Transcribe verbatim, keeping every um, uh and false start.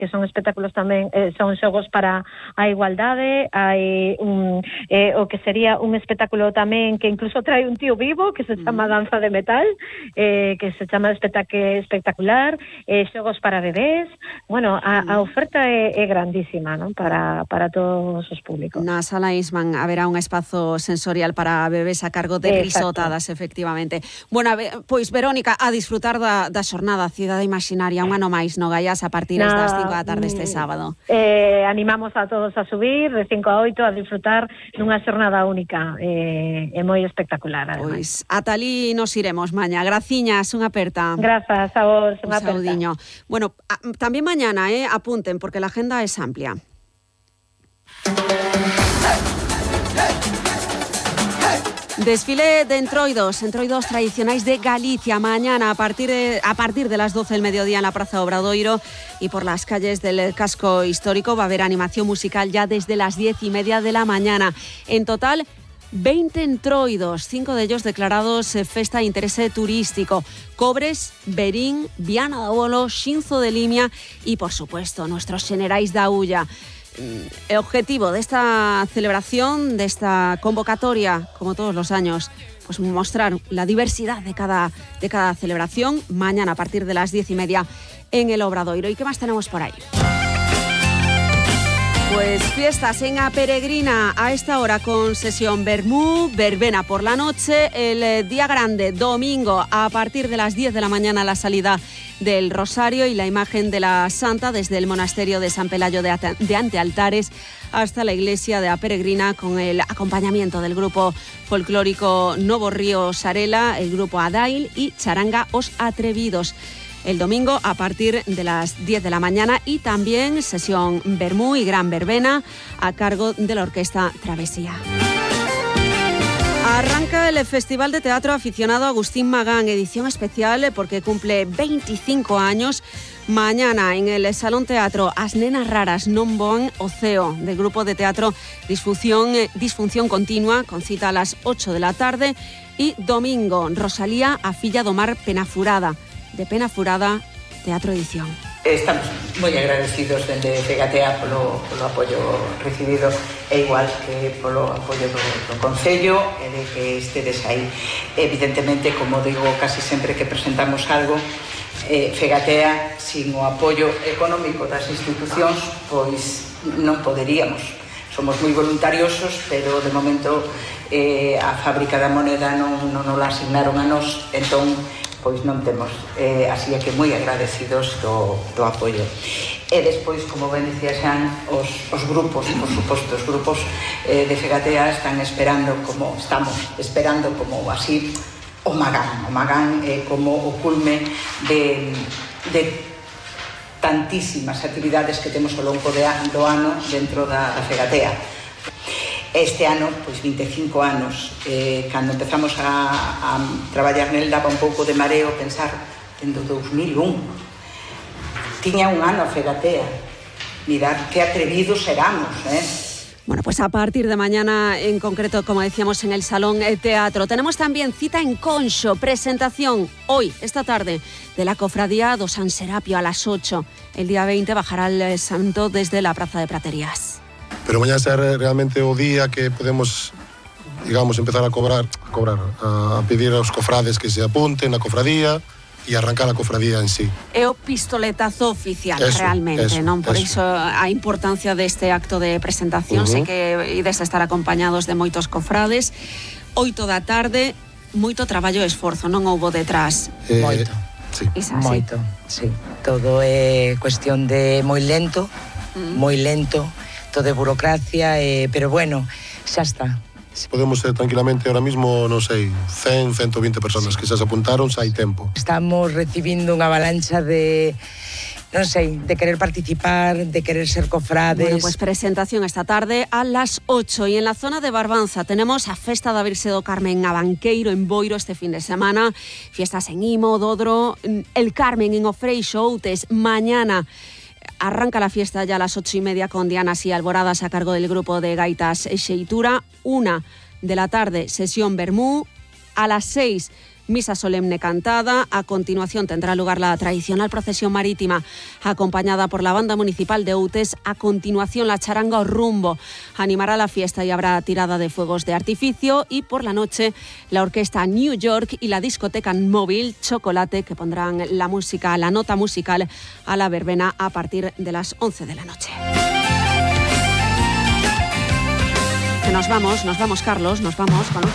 que son espectáculos tamén, eh, son xogos para a igualdade, hai un, eh, o que sería un espectáculo tamén que incluso trae un tío vivo, que se chama Danza de Metal, eh, que se chama espectac- espectacular, eh, xogos para bebés. Bueno, a, a oferta é, é grandísima, non? Para, para todos os públicos. Na Sala Isman haberá un espazo sensorial para bebés a cargo de Exacto. risotadas, efectivamente. Bueno, pois Verónica, a disfrutar da, da xornada Cidade Imaxinaria, un ano máis no Gaiás a partir Na, das cinco da tarde este sábado. Eh, animamos a todos a subir de cinco a oito a disfrutar dunha xornada única e eh, moi espectacular, ademais. Pois ata ali nos iremos mañá. Graciñas, unha aperta. Grazas a vos, unha aperta. Un saudiño. Bueno, a, tamén mañana, eh, apunten, porque la agenda es amplia. Desfile de entroidos, entroidos tradicionais de Galicia, mañana a partir de, a partir de las doce del mediodía en la Praza Obradoiro y por las calles del casco histórico. Va a haber animación musical ya desde las diez y media de la mañana. En total, veinte entroidos, cinco de ellos declarados eh, festa de interés turístico. Cobres, Berín, Viana do Bolo, Xinzo de Limia y, por supuesto, nuestros xenerais da Ulla. El objetivo de esta celebración, de esta convocatoria, como todos los años, pues mostrar la diversidad de cada, de cada celebración, mañana a partir de las diez y media en el Obradoiro. ¿Y qué más tenemos por ahí? Pues fiestas en A Peregrina a esta hora con sesión Vermú, verbena por la noche, el día grande, domingo, a partir de las diez de la mañana la salida del Rosario y la imagen de la Santa desde el monasterio de San Pelayo de, Ate- de Antealtares hasta la iglesia de A Peregrina con el acompañamiento del grupo folclórico Novo Río Sarela, el grupo Adail y Charanga Os Atrevidos. El domingo a partir de las diez de la mañana y también sesión Vermú y Gran Verbena a cargo de la Orquesta Travesía. Arranca el Festival de Teatro Aficionado Agustín Magán, edición especial porque cumple veinticinco años. Mañana en el Salón Teatro As Nenas Raras Non Voan o Ceo, del grupo de teatro Disfunción, Disfunción Continua, con cita a las ocho de la tarde. Y domingo, Rosalía a Filla do Mar Penafurada, de Penafurada, Teatro Edición. Estamos moi agradecidos dende Fegatea polo, polo apoio recibido e igual que polo apoio do, do Concello e de que estedes aí. Evidentemente, como digo casi sempre que presentamos algo, eh, Fegatea, sin o apoio económico das institucións, pois non poderíamos. Somos moi voluntariosos, pero de momento eh, a Fábrica da Moneda non, non nos la asignaron a nós, entón pois non temos, eh, así é que moi agradecidos do, do apoio. E despois, como ben dicía Xan, os, os grupos, por suposto, os grupos eh, de Fegatea están esperando, como estamos esperando, como así, o Magán. O Magán é eh, como o culme de, de tantísimas actividades que temos ao longo de, do ano dentro da, da Fegatea. Este ano, pois veinticinco anos, eh, cando empezamos a, a traballar nel, daba un pouco de mareo pensar dentro do dos mil un. Tiña un ano a Fegatea. Mirad que atrevidos éramos, eh? Bueno, pues a partir de mañana, en concreto, como decíamos, en el Salón Teatro. Tenemos también cita en Conxo, presentación hoy, esta tarde, de la Cofradía do San Serapio a las ocho. El día veinte bajará el santo desde la Praza de Praterías. Pero mañana será realmente o día que podemos, digamos, empezar a cobrar, a cobrar, a pedir aos cofrades que se apunten na cofradía e arrancar a cofradía en sí. É o pistoletazo oficial, eso, realmente, eso, non? Por eso. iso a importancia deste acto de presentación. Uh-huh. Sei que ides a estar acompañados de moitos cofrades. Oito da tarde, moito traballo e esforzo, non houbo detrás. Eh, moito. Sí. Moito, sí. Todo é cuestión de moi lento, uh-huh. moi lento, todo de burocracia, eh, pero bueno, xa está. Podemos ser tranquilamente ahora mismo, non sei, cen, ciento veinte personas que xa se apuntaron, xa hai tempo. Estamos recibindo unha avalancha de, non sei, de querer participar, de querer ser cofrades. Bueno, pues presentación esta tarde a las ocho. Y en la zona de Barbanza tenemos a Festa da Virxe do Carmen a Banqueiro, en Boiro, este fin de semana. Fiestas en Imo, Dodro, el Carmen en Ofreixo, Outes, mañana. Arranca la fiesta ya a las ocho y media con dianas y alboradas a cargo del grupo de gaitas Xeitura. Una de la tarde, sesión Vermú. A las seis, misa solemne cantada. A continuación tendrá lugar la tradicional procesión marítima, acompañada por la banda municipal de Outes. A continuación la charanga o rumbo animará la fiesta y habrá tirada de fuegos de artificio. Y por la noche la orquesta New York y la discoteca móvil Chocolate, que pondrán la música, la nota musical a la verbena a partir de las once de la noche. Que nos vamos, nos vamos, Carlos, nos vamos con los